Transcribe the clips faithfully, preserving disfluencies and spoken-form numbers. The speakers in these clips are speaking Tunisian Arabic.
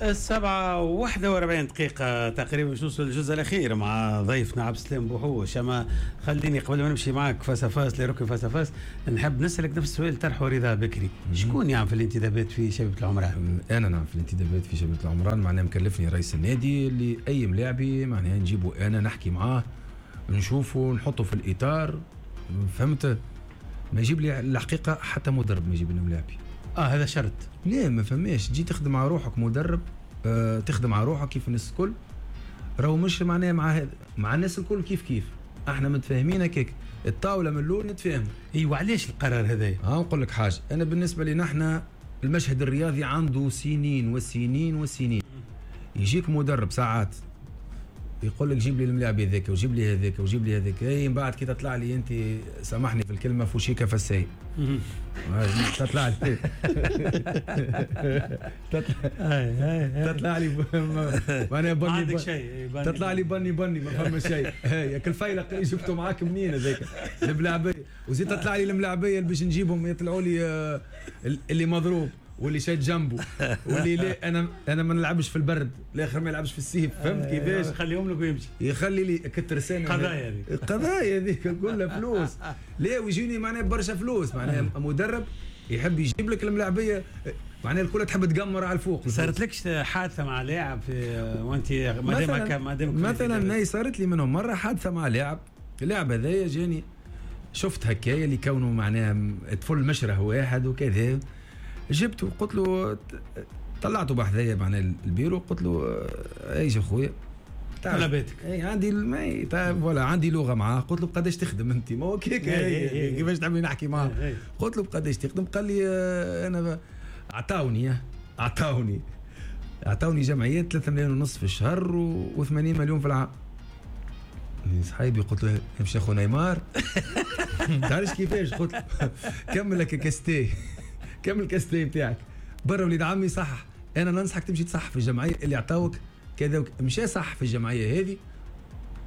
السبعة وواحدة وأربعين دقيقة تقريبا باش نوصل للجزء الأخير مع ضيفنا عبد السلام بوحوش. أما خليني قبل ما نمشي معك face à face لركن face à face، نحب نسألك نفس السؤال طرحه رضا بكري، شكون يعمل في الانتدابات في شبيبة العمران؟ أنا نعم في الانتدابات في شبيبة العمران، معناها مكلفني رئيس النادي اللي أي ملاعبي معناها نجيبه أنا نحكي معاه نشوفه نحطه في الإطار، فهمت؟ ما يجيب لي الحقيقة حتى مدرب ما يجيب لنا ملاعبي. اه هذا شرط؟ لا ما فماش، تجي تخدم على روحك مدرب، آه تخدم على روحك كيف الناس الكل، راهو مش معناها مع مع الناس الكل كيف كيف، احنا متفاهمين هكاك، الطاولة من الاول نتفاهم. ايوا علاش القرار هذا؟ ها نقول لك حاجة، انا بالنسبة لي نحن المشهد الرياضي عنده سنين وسنين وسنين، يجيك مدرب ساعات يقول لك جيب لي الملاعب هذاك وجيب لي هذاك وجيب لي هذاك، اي من بعد كي تطلع لي انت سامحني في الكلمة فوشيكا فساي تطلع لي تطلع لي معناها بني عندك شيء، تطلع لي بني بني ما فما شيء، هيك الفيلق اللي جبته معاك منين هذاك الملاعبيه، وزيد تطلع لي الملاعبيه اللي باش نجيبهم يطلعوا لي اللي مضروب واللي شاد جنبه واللي لا انا انا ما نلعبش في البرد، الاخر ما يلعبش في السيف، فهمت كيفاش؟ خليهم لك ويمشي، يخلي لي كترسانه قضايا هذيك القضايا هذيك كلها فلوس، لا ويجيني معناها برشا فلوس، معناها مدرب يحب يجيب لك الملاعبيه معناها الكل تحب تقمر على الفوق. صارت لكش حادثه مع لاعب في وانت مادامك مادامك مثلا؟ هي صارت لي منهم مرة حادثه مع لاعب، اللاعب هذايا جاني شفت هكايا اللي كونه معناها طفل مشره واحد وكذا، جبته قلت له طلعته بحذايا معناها البيرو، قلت له ايش اخويا طلباتك؟ اي عندي الماي طيب ولا عندي لغة معاه، قلت له بقداش تخدم انت؟ ما هو كيك كيفاش تحبني نحكي معاه؟ قلت له بقداش تخدم؟ قال لي انا عطاوني عطاوني عطاوني جمعيات ثلاثة ملايين ونص في الشهر وثمانين مليون في العام. صحيبي قلت له امشي اخو نيمار تعرفش كيفاش؟ قلت له كمل لك كاستي كمل الكاستي بتاعك برا وليد عمي صح، انا ننصحك تمشي تصح في الجمعية اللي عطاوك كذا، مشى صح في الجمعية هذه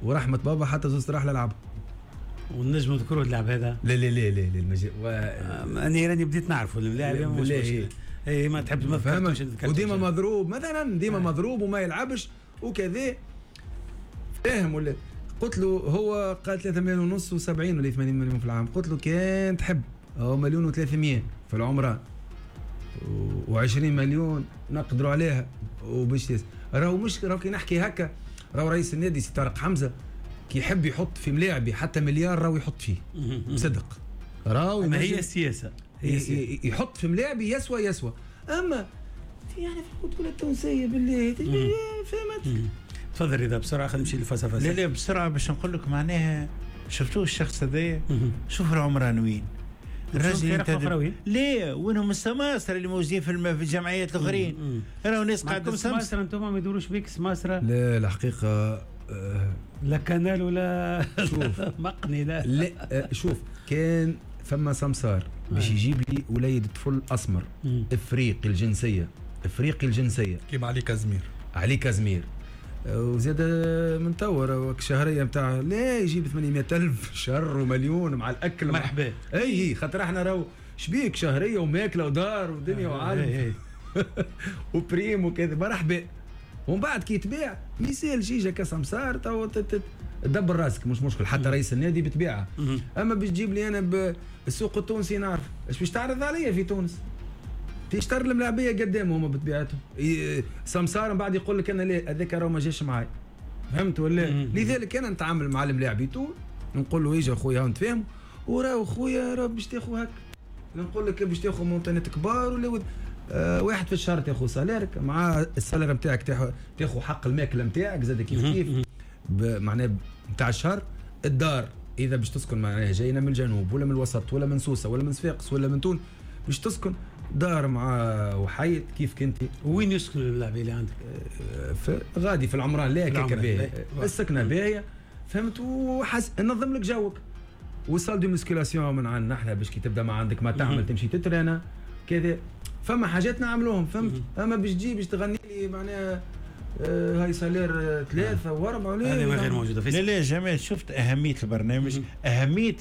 ورحمة بابا حتى زوز راح للعب. والنجم نذكروا اللعب هذا؟ لا لا لا لا المج... و... انا راني بديت نعرفه اللاعب مش مشكلة، اي ما تحب ما فهمتش، وديما مضروب مثلا، ديما آه. مضروب وما يلعبش وكذا، فاهم ولا؟ قلت له هو قال ثلاثة مليون ونص وسبعين ولا ثمانين مليون في العام، قلت له كان تحب هو مليون وثلاثمية في العمران وعشرين مليون نقدروا عليها وباش راهو مش راهو كي نحكي هكا، راهو رئيس النادي سي طارق حمزة كي يحب يحط في ملاعبي حتى مليار راهو يحط فيه بصدق، راهو ما هي السياسة، هي السياسة. يحط في ملاعبي يسوى يسوى، اما يعني في البطولة التونسية بالله فهمت. تفضل رضا بسرعة خلينا نمشي للفلسفة. لا لا بسرعة باش نقول لك معناها شفتوه الشخص هذايا، شوف العمران وين الراجل انت ليه وينهم السماسرة اللي موجودين في الجمعيات الاخرين؟ راهو ناس قاعدة سماسرة، انتم ما يدوروش بيك سماسرة؟ لا الحقيقة أه لا كنال ولا مقني لا لا أه شوف كان فما سمسار باش يجيب لي وليد طفل اسمر افريقي الجنسية، افريقي الجنسية كيما علي كازمير، علي كازمير وزاد من توا شهرية نتاع لا يجيب ثمانمية ألف شهر ومليون مع الاكل مرحبا. اي خاطر احنا راهو شبيك شهرية وماكله ودار ودنيا وعالم و prime وكذا مرحبا، ومن بعد كي يتباع ميسال جيجا كسمسار تو تدبر راسك مش مشكل، حتى رئيس النادي بتبيعها. اما باش تجيب لي انا بالسوق التونسي نعرف اش باش تعرض عليا في تونس، تشتر الملاعبيه قدامهم هما بطبيعتهم سمسار من بعد يقول لك انا لا هذاك راه ما جاش معاي، فهمت ولا؟ لذلك انا نتعامل مع الملاعبي تو نقول له اجا خويا نتفاهم، وراه خويا راه باش تاخذ هكا، نقول لك باش تاخذ montant ات كبار ولا آه واحد في الشهر تاخذ salaire ك مع ال salaire نتاعك تاخذ حق الماكلة نتاعك زاد كيف كيف معناه نتاع الشهر، الدار اذا باش تسكن معناها جاينا من الجنوب ولا من الوسط ولا من سوسة ولا من صفاقس ولا من تونس باش تسكن دار مع وحيد كيف كنتي. وين يسكن اللاعبين اللي عندك؟ في غادي في العمران لا كيك باهيه السكنة باهيه فهمت، وحس نظم لك جوك و salle de musculation من عندنا احنا باش كي تبدا ما عندك ما تعمل تمشي تترينا كذا، فما حاجات نعملوهم فهمت. اما باش تجي باش تغني لي معناها آه هاي salaire ثلاثة وأربعة ولا هذه غير موجودة في لا لا جمال. شفت أهمية البرنامج، أهمية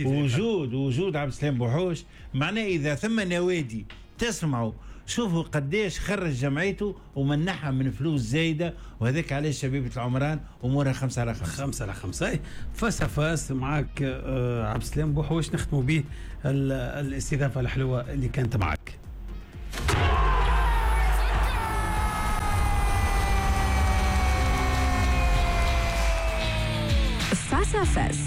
وجود وجود عبد السلام بوحوش. معناه إذا ثم نوادي تسمعوا شوفوا قديش خرج جمعيته ومنحها من فلوس زايدة، وهذاك علاش شبيبة العمران امورها خمسة على خمسة. خمسة على خمسة. face à face معاك عبد السلام بوحوش، نختموا به الاستضافة الحلوة اللي كانت معك. face à face.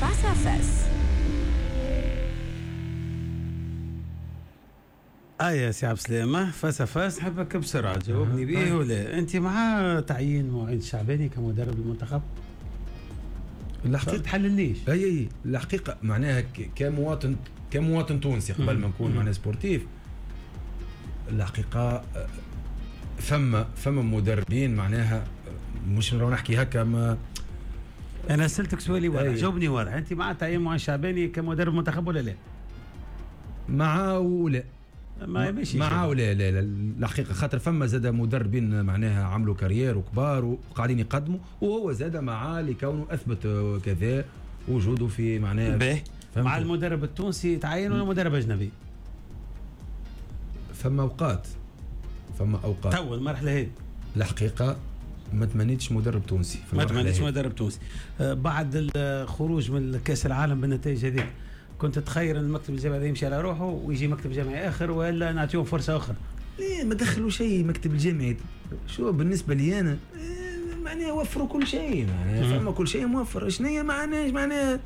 face à face. اه يا سي عبد السلام، face à face نحبك بسرعة تجاوبني به ولا انت مع تعيين معين الشعباني كمدرب المنتخب؟ الحقيقة تحلليش. اي اي الحقيقة معناها كمواطن كمواطن تونسي قبل ما نكون معناها sportif، الحقيقة فما فما مدربين معناها مش نراو نحكي هكا ما انا سالتك سؤالي واضح، جاوبني واضح، انت مع تعيين معين الشعباني كمدرب منتخب ولا لا؟ مع ولا ما ماشي مع ولا لا لا الحقيقة، خاطر فما زاد مدربين معناها عملوا carrière وكبار وقاعدين يقدموا، وهو زاد مع لكونه اثبت كذا وجوده في معناها. باهي، مع المدرب التونسي تعين ولا مدرب اجنبي؟ فما اوقات فما اوقات تو المرحلة هذه الحقيقة ما تمنيتش مدرب تونسي، ما تمنيتش مدرب تونسي بعد الخروج من كاس العالم بالنتائج هذيك. كنت تخير ان المكتب الجامعي يمشي على روحه ويجي مكتب جامعي اخر ولا نعطيهم فرصة اخرى؟ ليه ما دخلوا شيء مكتب الجامعي. شو بالنسبة لي انا معناها وفروا كل شيء، معناها فما كل شيء موفر. شنو ما عندناش معناها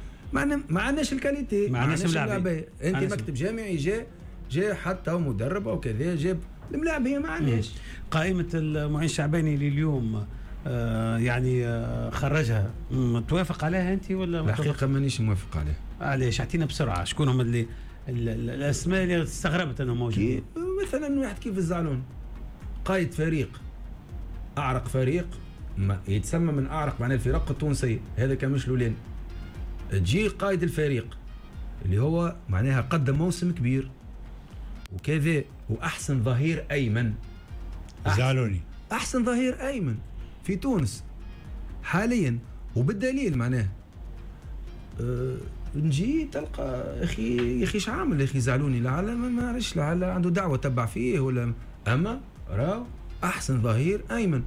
ما عندناش ال qualité، ما عندناش الملاعبيه. انت مكتب جامعي جاء جاء حتى مدرب او كذا جاب الملاعبيه، ما عندناش. قائمة المعين الشعباني لليوم آه يعني آه خرجها، توافق عليها انت ولا؟ الحقيقة مانيش موافق عليها. علاش؟ اعطينا بسرعة شكون هم اللي الاسماء اللي استغربت انهم موجودين. مثلا واحد كيف الزعلون، قائد فريق، اعرق فريق، ما يتسمى من اعرق معناه الفرق التونسية، هذا كان مش الاولاني. تجي قائد الفريق اللي هو معناها قدم موسم كبير وكذا، واحسن ظهير ايمن زعلوني، احسن ظهير ايمن في تونس حاليا، وبالدليل معناه أه نجي تلقى اخي يا اخي ايش عامل يا اخي زعلوني، لعل ما عرفش لعل عنده دعوه تبع فيه ولا، اما راهو احسن ظهير ايمن،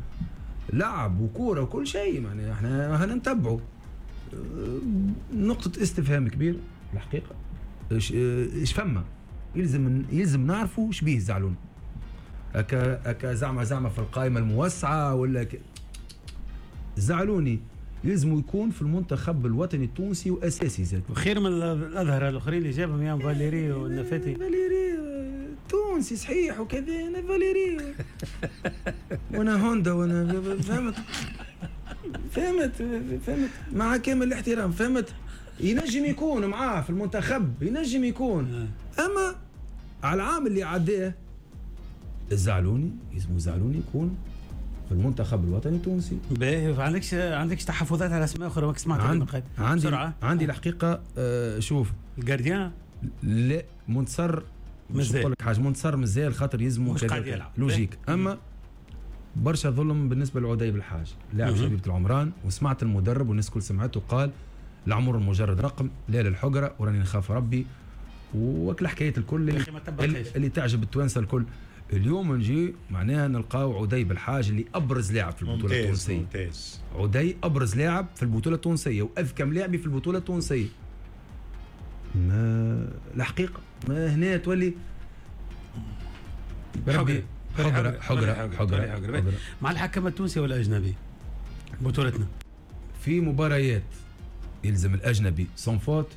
لعب وكوره وكل شيء، معناها احنا هنا نتبعه. أه نقطة استفهام كبير الحقيقة، ايش ايش فما يلزم يلزم نعرفوا ايش بيه زعلوني. اكا اكا زعما زعما في القائمة الموسعه ولا ك... زعلوني يلزم يكون في المنتخب الوطني التونسي واساسي زاد، وخير من الاظهرة الاخرين اللي جابهم يا فاليري والنفاتي. فاليري تونسي صحيح وكذا، انا فاليري وانا هوندا وانا فهمت فهمت فهمت مع كامل الاحترام، فهمت ينجم يكون معاه في المنتخب، ينجم يكون، اما على العام اللي عداه الزعلوني يلزم زعلوني يكون في المنتخب الوطني التونسي. باهي، عندكش عندكش تحفظات على اسماء اخرى ماك سمعت؟ عند عندي بسرعة. عندي الحقيقة آه شوف ال gardien لا منتصر، مش نقول لك حاجة، منتصر مازال خاطر يلزمو logique. اما برشا ظلم بالنسبة لعدي بالحاج لاعب شبيبة العمران، وسمعت المدرب والناس الكل سمعته قال العمر مجرد رقم، لا للحجره وراني نخاف ربي، وكل حكاية الكل اللي, اللي تعجب التوانسة الكل. اليوم نجي معناها نلقاو عدي بالحاج اللي ابرز لاعب في البطولة التونسية. ممتاز. عدي ابرز لاعب في البطولة التونسية واذكى لاعب في البطولة التونسية. ما الحقيقة ما هنا تولي حقره حقره حقره حقره, حقرة. مع الحكم التونسي ولا الاجنبي بطولتنا؟ في مباريات يلزم الاجنبي sans faute،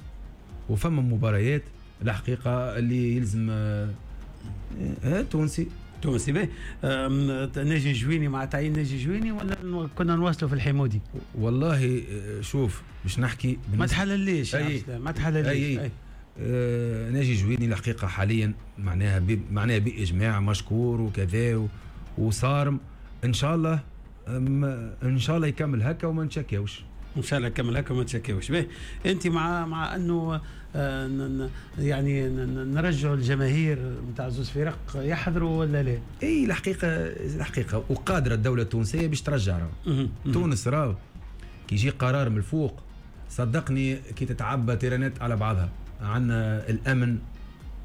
وفما مباريات الحقيقة اللي يلزم آه تونسي. تونسي باهي. ناجي جويني مع تعيين ناجي جويني ولا كنا نواصلوا في الحمودي؟ والله شوف باش نحكي ما تحلليش، ما تحلليش. أي. أي. آه ناجي جويني الحقيقة حاليا معناها بي معناها باجماع مشكور وكذا وصارم، ان شاء الله ان شاء الله يكمل هكا وما نتشكاوش. ان شاء الله كمل هكا وما تشكاوش. باهي، انت مع مع انه آه يعني نرجعوا الجماهير نتاع زوز فرق يحضروا ولا لا؟ اي الحقيقة الحقيقة وقادرة الدولة التونسية باش ترجع راهو. تونس راهو كي يجي قرار من الفوق صدقني كي تتعبى تيرانات على بعضها. عندنا الامن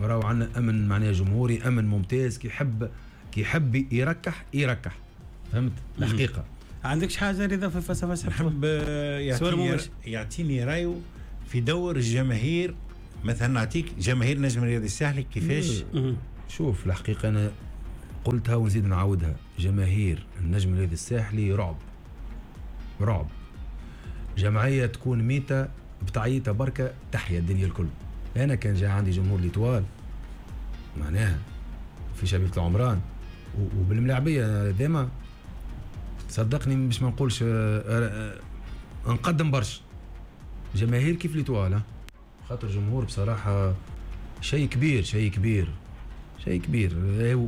راهو عندنا امن معناها جمهوري، امن ممتاز، كي يحب كي يحب يركح يركح، فهمت الحقيقة. عندكش حاجة رضا في face à face؟ نحب يعطيني يعطيني رايه في دور الجماهير، مثلا نعطيك جماهير نجم الرياضي الساحلي كيفاش. شوف الحقيقة انا قلتها ونزيد نعاودها، جماهير النجم الرياضي الساحلي رعب رعب، جمعية تكون ميته بتعيطها بركة تحيا الدنيا الكل. انا كان جاء عندي جمهور l'Étoile معناها في شبيبة العمران وبالملاعبيه ديما صدقني باش ما نقولش نقدم برشا جماهير كيف l'Étoile، خاطر جمهور بصراحة شيء كبير شيء كبير شيء كبير،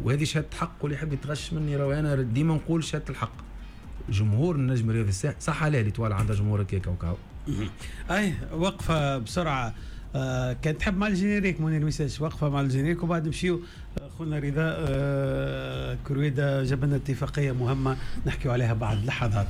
وهذه شهادة حق، واللي يحب يتغش مني راهو انا ديما نقول شهادة الحق. جمهور النجم الرياضي الساحلي صح عليه l'Étoile عندها جمهور هكاك وكاو. اي وقفه بسرعة، آه كان تحب مع ال générique منير ميساش، وقفه مع ال générique وبعد نمشيو. خونا رضا آه كرويده جاب لنا اتفاقية مهمة نحكيو عليها بعد لحظات.